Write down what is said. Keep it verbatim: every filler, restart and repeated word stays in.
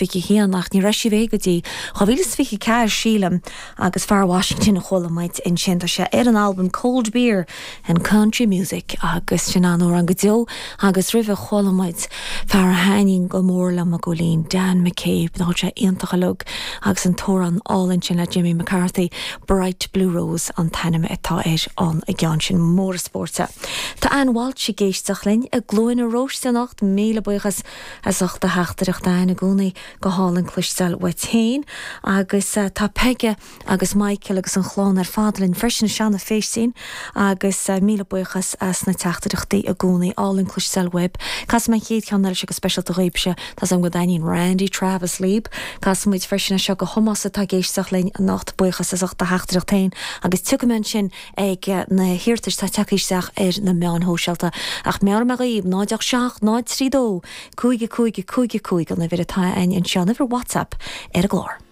fiche haon ach ní raibh sí beo go dtí dhá mhíle is fiche ceathair sílim agus fear Washington a chuala muid ansin tá sé ar an albam Cold Beer and Country Music agus sin an-amhrán go deo agus roimhe chuala muid fear a thaitníonn go mór liom a ghúilín Dan McCabe ná sé iontach uilig agus an t-amhrán álainn sin le Jimmy McCarthy Bright Blue Rose an t-ainm atá ar an gceann sin mór spórta. Tá Ann Walsh ag éisteacht linn i gCluain na Róiste anocht míle buíochas as ucht do theachtaireacht Ann i gcónaí go hálainn cloisteáil uait féin agus uh, tá Peige agus Michael agus an chlann ar fad linn freisin Seanna Féistín agus uh, míle buíochas as na teachtaireachtaí i gcónaí álainn cloisteáil uaibh. Casfaidh mé an chéad cheann eile seo go speisialta dhaoibhse Tá am go dtaitníonn Randy Travis libh, Casfaidh muid freisin seo go Tomás atá ag éisteacht linn anocht buíochas as ucht do theachtaireacht féin agus tiocfaidh mé ansin ag eh, na hiarratais atá tagtha isteach ar na meáin shóisialta ach meabhróidh mé dhaoibh náid seacht náid trí dó, cúig cúig cúig cúig an uimhir atá ann anseo uimhir WhatsApp ar an gclár.